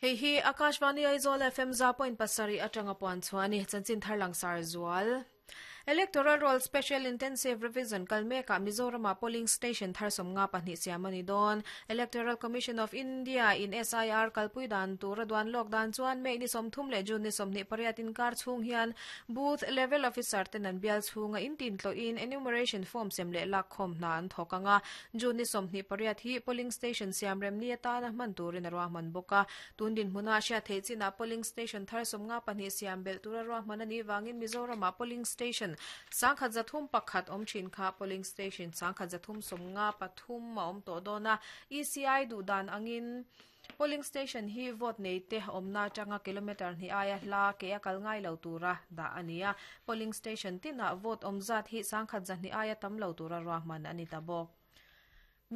Hei hi Akashvani Aizawl FM 100.7 atanga puan chhuah a ni. Chanchin thar langsar zual. Electoral Roll Special Intensive Revision kal mekah Mizoramah polling station thar 52 siam a ni dawn. Electoral Commission of India in SIR kalpui dan tura duan lawk dan chuan May ni 30 leh June ni 28 inkar chhung hian Booth Level Officer ten an bial chhunga intin tlawhin enumeration form sem leh lak khawm hna an thawk ang a. June ni 28 hi polling station siam rem ni atana hman turin a ruahman bawk a. Tun dinhmuna hriat theih chinah polling station thar 52 siam belh tura ruahman a nih vangin Mizoramah polling station 1301 awm thin kha polling station 1353 a awm tawh dawn a. ECI duh dan angin polling station hi vote nei te awmna atanga kilometre hnih aia hla ke a kal ngai lo tura dah a ni a. Polling station tinah vote awm zat hi 1200 aia tam lo tura ruahman a ni ta bawk.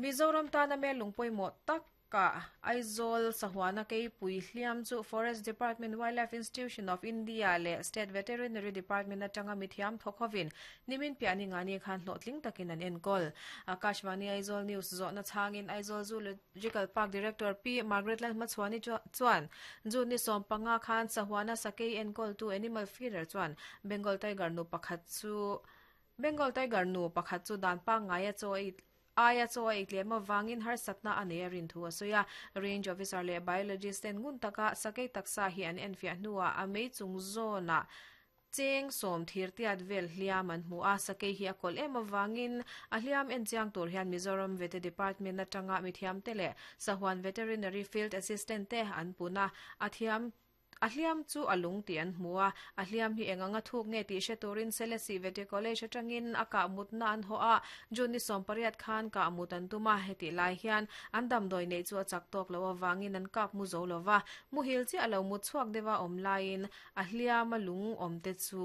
Mizoram tana mel lung pawimawh tak kah Aizawl Sahuana Keipui hliam chu Forest Department, Wildlife Institution of India leh State Veterinary Department atanga mithiam thawk hovin nimin piah ni ngani khan hlawhtling takin an enkawl. Akashvani Aizawl News zawhna chhangin Aizawl Zoological Park Director Pi Margaret Lalhmachhuani chuan June ni 15 khan Sahuana Sakei enkawltu Animal Feeder chuan Bengal Tiger nu pakhat chu Bengal Tiger nu pakhat chu dan pangngai a chaw ei aia chaw a ei tlem avangin harsatna a nei a rin thu a sawi a. Range Officer leh Biologist ten ngun taka sakei taksa hi an enfiah hnuah a mei chung zawnah cheng sawm thir tiat vel hliam an hmu a. Sakei hi a kawlh em avangin a hliam en chiang tur hian Mizoram Vete Department atanga mithiamte leh Sahuan Veterinary Field Assistant te an pun a, a thiam A hliam chu a lung tih an hmu a, a hliam hi eng anga thuk nge tih hre turin Selesih Vete College atangin a kah mutna an hawh a, June ni 18 khan kah mut an tum a, hetih lai hian an damdawi neih chu a chak tawk loh avangin an kap mu zo lo va, muhil chiah lo mut chhuak deuha awm laiin a hliam a lung awm te chu.